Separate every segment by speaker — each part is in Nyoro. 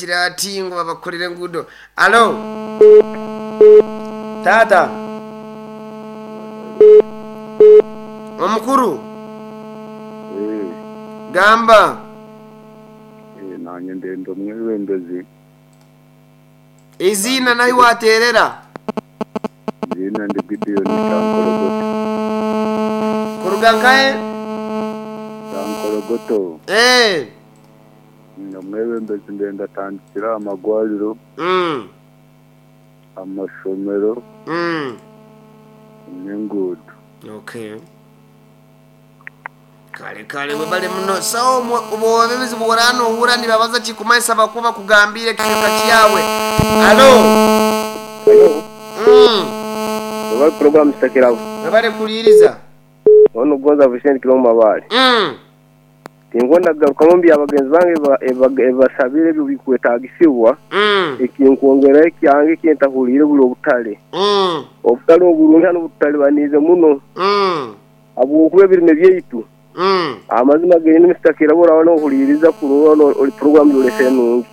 Speaker 1: Kira ati ngu babakorere enguudo. Alo taata omukuru gamba.
Speaker 2: Nanye ndenda omwebembezi.
Speaker 1: Eiziina nahi waterera?
Speaker 2: Eiziina ndi Gideon Kyankorogoto.
Speaker 1: Kuruga nkahe?
Speaker 2: Kyankorogoto. Omwebembezi ndenda atandikire aha magwariro, amashomero n'enguudo.
Speaker 1: Okay. Kale kale webale muno. So obwebembezi bworaba nohurra nibabaza kikumanyisa bakuba bakugambiire ekicweka kyawe. Alo.
Speaker 3: Webale program Kirabo.
Speaker 1: Webale kuhuliriza.
Speaker 3: Onu Gonza Vincent Kirabo Mabale. Tinkwenda kugarukamu omu bya bagenzi bange ebibasabire ebyo ebikwetagisibwa. Ekinkwongeraho ekyange ekintahuliire buri obutare. Obutare oburungi hanu bututalibaniize muno. Habwokuba ebirime byaitu amazima genyini Mister Kirabo oraba nohuliiriza kurora ori program gyorese nungi.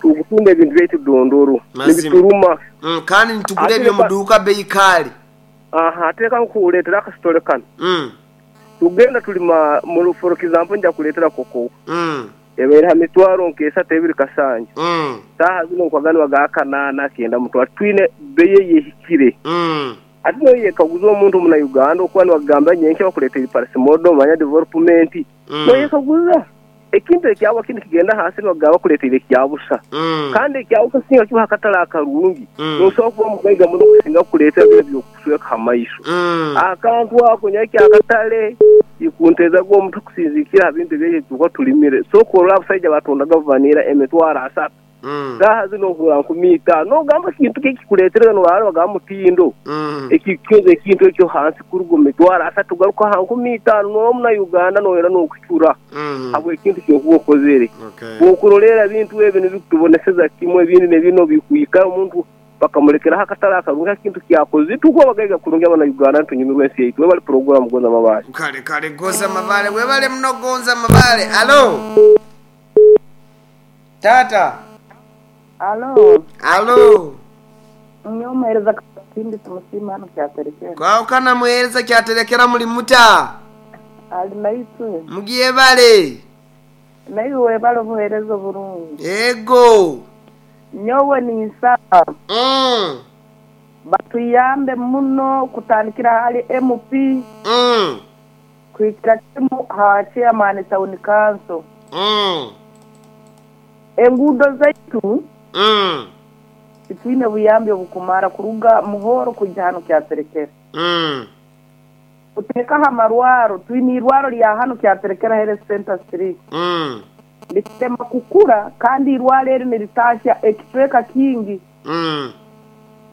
Speaker 3: Tukutunda ebintu byaitu dondoro nibituruma.
Speaker 1: Kandi nitugura ebyomuduuka bei kaali.
Speaker 3: Aha, ate leka nkuleetere akasitore kanu. Tugenda tulima, for example nja kuleetera kokowa. Ebaire ha mitwaro nk'esatu ebiri kasanja. Saaha zino nkuhaga nibagaha kanaana kenda mutwaro. Twine bei eyehikire. Ate noyekaguza omuntu omuna Uganda okuba nibakugambira nyenkya bakuleeteire parasimodo manya development. Noyekaguza ekintu ekyabo kinu kigenda hansi nibakugamba bakuleeteire ekyabusa. Kandi ekyabusa singa kiba hakatale akarungi, nosobola kuba mugaiga muno kusinga kukuleetera binu ebyokukusweka ha maiso. Akantu ako nyowe ekyakatale tikunteezaga omutwe kusinzikira ha bintu ebi ebitukuba tulimire. Sooka orole abasaija batundaga vanira emitwaro asatu. Saaha zinu ohurra nkumi itaano. Nogamba kintu ki ekikuleetereza norara nibagamba mutindo. Ekikukiza ekintu ekyo hansi kuruga omu mitwaro asatu kugaruka ha nkumi itaano. Norora omuna Uganda noyenda n'okucura habw'ekintu ekyokuba okozere. Bwokuroleera ebintu ebi nibikutuboneseza kimwe ebindi nebinu bikwikara omuntu bakamulekeraho akatale akarungi ha kintu kyakozire. Tukuba abagaiga kurungi abana Uganda nitunyumirwa ensi yaitu. Webale puroguramu Gonza Mabale.
Speaker 1: Kale kale Gonza Mabale webale muno Gonza Mabale. Alo taata.
Speaker 4: Alo.
Speaker 1: Alo.
Speaker 4: Nyowe omuheereza Kasimbi Tumusiime hanu Kyaterekera.
Speaker 1: Kwahukana muheereza Kyaterekera muli muta?
Speaker 4: Ali naitwe.
Speaker 1: Mugyebale.
Speaker 4: Naiwe webale obuheereza oburungi.
Speaker 1: Ego.
Speaker 4: Nyowe ninsaba batuyambe muno kutandikira hali MP kuhikira kimu ha chairman town council. Enguudo zaitu titwine buyambi obukumara kuruga Muhoro kwija hanu Kyaterekera. Kuteekaho amarwaro, twine irwaro rya hanu Kyaterekera Health Center 3. Nikitema kukura kandi irwaro eri niritasya ekicweka kingi.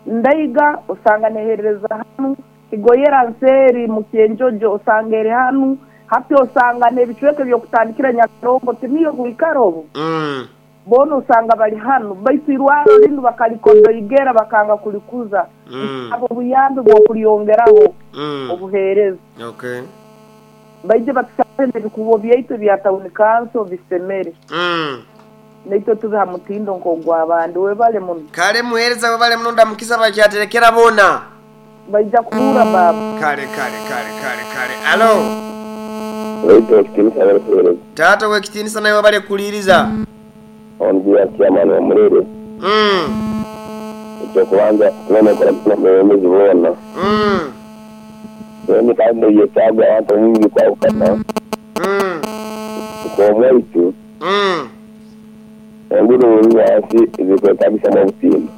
Speaker 4: Ndaiga osanga neherereza hanu, Kigoyera nseeri Mukyenjojo osanga eri hanu, hati osanga n'ebicweka eby'okutandikira Nyakarongo tiniyo bwikaro obu. Boona osanga bari hanu baitu irwaro rinu bakarikodoigera bakanga kurikuza. Nsaba obuyambi bw'okuryongeraho obuheereza. Baije batusabe n'ebikubo byaitu ebya town council bisemere. Naitwe tube ha mutindo nk'ogw'abandi. Webale muno.
Speaker 1: Kale muheereza webale muno ndamukiza abakyaterekera boona.
Speaker 4: Baija kuhurra baaba.
Speaker 1: Kale kale kale kale kale. Alo.
Speaker 5: Waitu ow'ekitiinisa webale kuheereza.
Speaker 1: Taata ow'ekitiinisa naiwe webale kuhuliiriza.
Speaker 5: Ondi ya chairman wa Murere. Eky'okubanza twine kukora n'omwebembezi boona. Then kandi ebyetaago abantu omu bikwahukana. Nk'omwaitu, enguudo bweziri hansi zikwetaagisamu obutimba.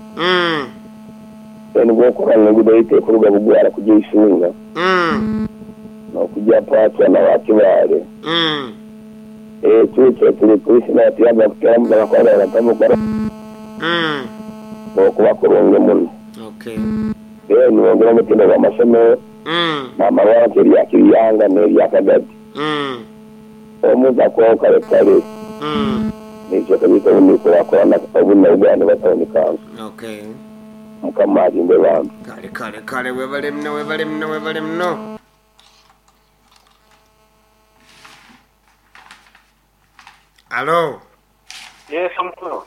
Speaker 5: Then bwokurora ngu enguudo yaitu ekuruga Bugwara kugya Isunga n'okugya Pwatwa na Wakibaale, ekyo turi polisi naatuyamba kuteeramu bakora batamukora n'okuba kurungi muno. Then bongera omutindo gw'amasomero n'amarwaro nk'erya Kiryanga n'erya Kagadi. Omuntu akubaho kare kare n'ebicweka byaitu obundi bikurakurana obundi na Uganda oba town council. Mukama alinde bambi.
Speaker 1: Kale kale kale webale muno webale muno webale muno. Alo.
Speaker 6: Yes, omukulu.